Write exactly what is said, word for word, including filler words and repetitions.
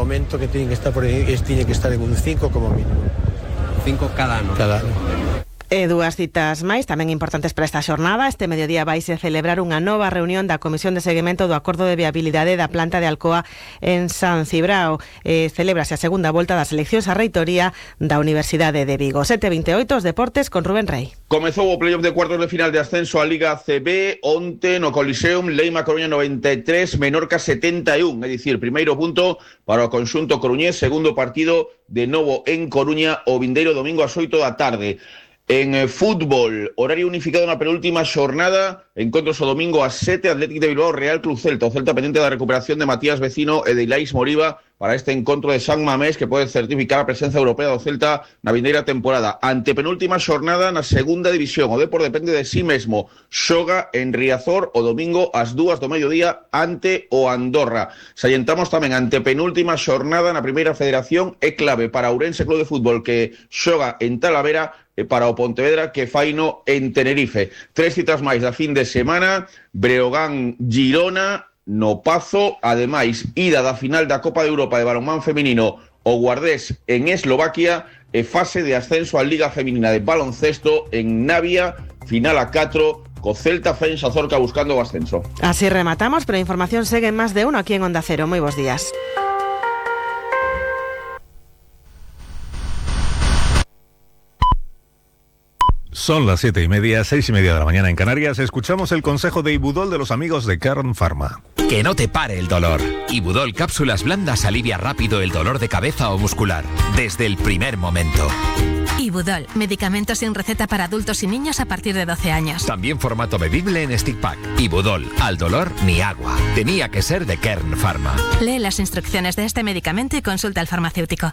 momento que tienen que estar por ahí, es, tiene que estar en un cinco como mínimo. Cinco cada ano. Cada ano. E dúas citas máis tamén importantes para esta xornada. Este mediodía vaise celebrar unha nova reunión da Comisión de Seguimento do Acordo de Viabilidade da planta de Alcoa en San Cibrao. Eh, celébrase a segunda volta das eleccións á reitoría da Universidade de Vigo. sete e veintioito, os deportes con Rubén Rey. Comezou o playoff de cuartos de final de ascenso á Liga C B onte no Coliseum, Leima Coruña noventa e tres, Menorca setenta e un, é dicir, primeiro punto para o conxunto coruñés, segundo partido de novo en Coruña o vindeiro domingo ás oito da tarde. En eh, fútbol, horario unificado na penúltima xornada, encontros o domingo ás sete, Atlético de Bilbao, Real Club Celta. O Celta pendente da recuperación de Matías Vecino e de Ilais Moriba para este encontro de San Mamés que pode certificar a presenza europea do Celta na vindeira temporada. Ante penúltima xornada na segunda división, o Depor depende de sí mesmo. Xoga en Riazor o domingo ás dúas do mediodía ante o Andorra. Salientamos tamén ante penúltima xornada na primeira federación, é clave para Ourense Club de Fútbol que xoga en Talavera e para o Pontevedra que faino en Tenerife. Tres citas máis da fin de semana, Breogán Girona no Pazo, ademais ida da final da Copa de Europa de balonmán feminino o Guardés en Eslovaquia e fase de ascenso á Liga Feminina de baloncesto en Navia, final a catro co Celta Fensa Zorca buscando o ascenso. Así rematamos, pero a información segue en máis de uno aquí en Onda Cero. Moi bons días. Son las siete y media, seis y media de la mañana en Canarias. Escuchamos el consejo de Ibudol de los amigos de Kern Pharma. Que no te pare el dolor. Ibudol Cápsulas Blandas alivia rápido el dolor de cabeza o muscular, desde el primer momento. Ibudol, medicamento sin receta para adultos y niños a partir de doce años. También formato bebible en stick pack. Ibudol, al dolor ni agua. Tenía que ser de Kern Pharma. Lee las instrucciones de este medicamento y consulta al farmacéutico.